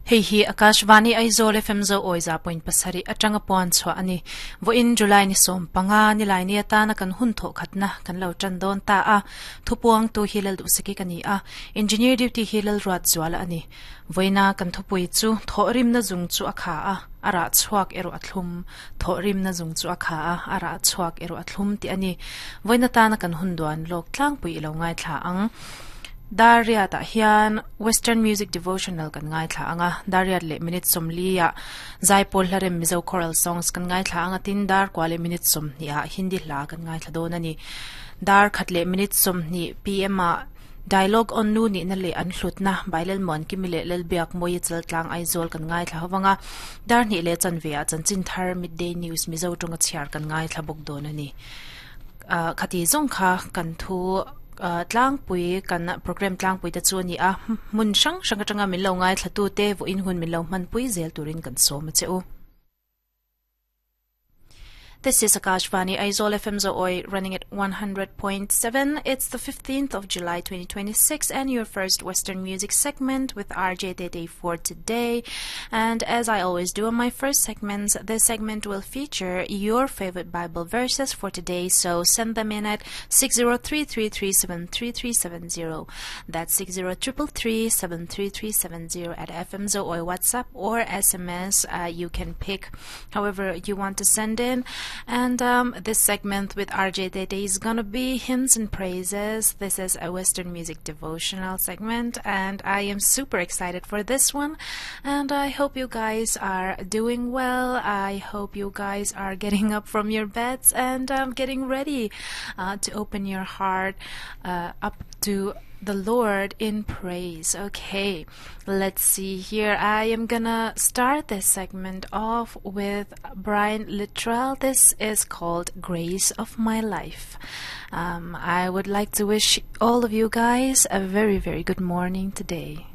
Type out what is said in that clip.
Hei hi Akashvani Aizawl FM Zo awi 100.7 atanga puan chhuah a ni. Vawiin July ni 15 nilai ni atana kan hun thawh khatna kan lo tan dawn ta a. Thupuangtu hi Lalduhsaki ka ni a, Engineer duty hi Lalruatzuala a ni. Vawiina kan thupui chu thawhrimna zung chu a kha a, a rah chhuak erawh a thlum. Thawhrimna zung chu a kha a, a rah chhuak erawh a thlum tih a ni. Vawiin atana kan hun duan lawk tlangpui i lo ngaithla ang. Dar riatah hian Western Music Devotional kan ngaithla ang a, dar riat leh minute 40 ah Zaipawl Hlarem Mizo Choral Songs kan ngaithla ang a, tin dar kua leh minute 20 ah Hindi hla kan ngaithla dawn a ni. Dar khat leh minute 20 pm ah Dialogue on Nu nihna leh an hlutna by Lalmuankimi leh Lalbiakmawia Chaltlang Aizawl kan ngaithla ho vang a, dar hnih leh chanve ah chanchin thar Midday News Mizo tawnga chhiar kan ngaithla bawk dawn a ni. Khati zawng kha kan thu tlangpui kan program tlangpui te chu a ni a, hmun hrang hrang atanga min lo ngaithla tu te vawiin hun min lo hmanpui zel turin kan sawm a che u. This is Akashvani Aizawl FM Zooi running at 100.7. It's the 15th of July 2026 and your first Western music segment with RJ Tete for today. And as I always do on my first segments, this segment will feature your favorite Bible verses for today. So send them in at 60333733370. That's 60333733370 at FM Zooi WhatsApp or SMS. You can pick however you want to send in. And this segment with RJ Tete is gonna be hymns and praises. This is a Western music devotional segment, and I am super excited for this one. And I hope you guys are doing well. I hope you guys are getting up from your beds and getting ready to open your heart up to the Lord in praise. Okay, let's see here. I am gonna start this segment off with Brian Littrell. This is called Grace of My Life. I would like to wish all of you guys a very, very good morning today.